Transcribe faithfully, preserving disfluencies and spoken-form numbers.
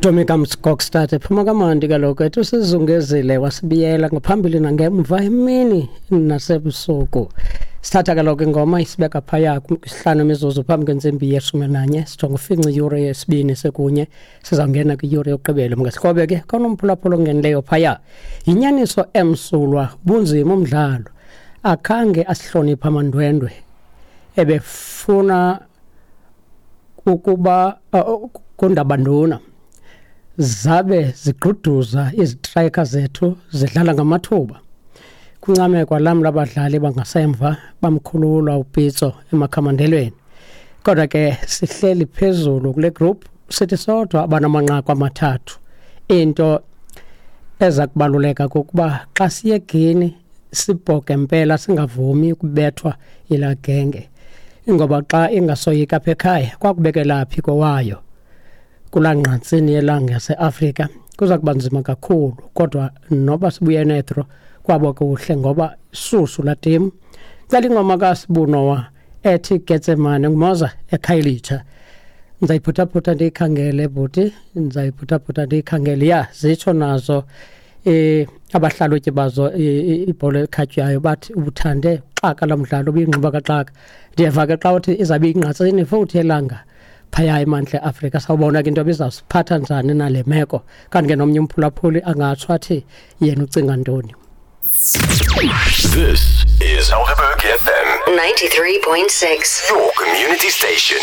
Tommy Kamskokstad ephuma kamandi kaloku ethi usizungezile wasibiyela ngaphambili nangemva emini nasebusuku. Sithatha kaloku ingoma isibeka phaya kwisihlanu imizuzu phambi kwentsimbi yeshumi nanye, sijonga ufinca iyure yesibini sekunye, sizawungena kwiyure yokugqibela. Mngasikrobe ke konomphulaphula ongenileyo phaya. Yinyaniso emsulwa, bunzima umdlalo, akhange asihloniphe amandwendwe ebefuna ukuba uh, kundabanduna zabe zigquduza izitrayika zethu zidlala ngamathuba. Kuncamekwa lam labadlali bangasemva bamkhulula uPitso emakhamandelweni. Kodwa ke sihleli phezulu kule group sithi sodwa abanamanqaku amathathu. Into eza kubaluleka kukuba xa siye eGuinea sibhoke mpela, singavumi ukubethwa yilaa genge, ngoba xa ingasoyika apha ekhaya kwakubekela phi kowayo kulaa ngqatsini yelanga yaseAfrika kuza kuba nzima kakhulu. Kodwa noba sibuye nedro kwabo kuhle ngoba susu laa timu. Cela ingoma kaSibunowa ethi Getsemane nguMoza eKhayelitsha. Ndizayiphuthaphutha ndiyikhangele bhuti, ndizayiphuthaphutha ndiyikhangele. Ya, zitsho nazo eh abahlalutyi bazo ibhola ekhatywayo bathi ubuthande xaka lo mdlalo ubuyingxuba kaxaka. Ndiyeva ke xa uthi izabe ingqatsini futhi elanga phaya eMantla eAfrika. Sawubona ke into ebizawusiphatha njani nale meko. Kanti ke nomnye umphulaphuli angatsho athi yena ucinga ntoni. This is Helderberg F M ninety-three point six, your community station.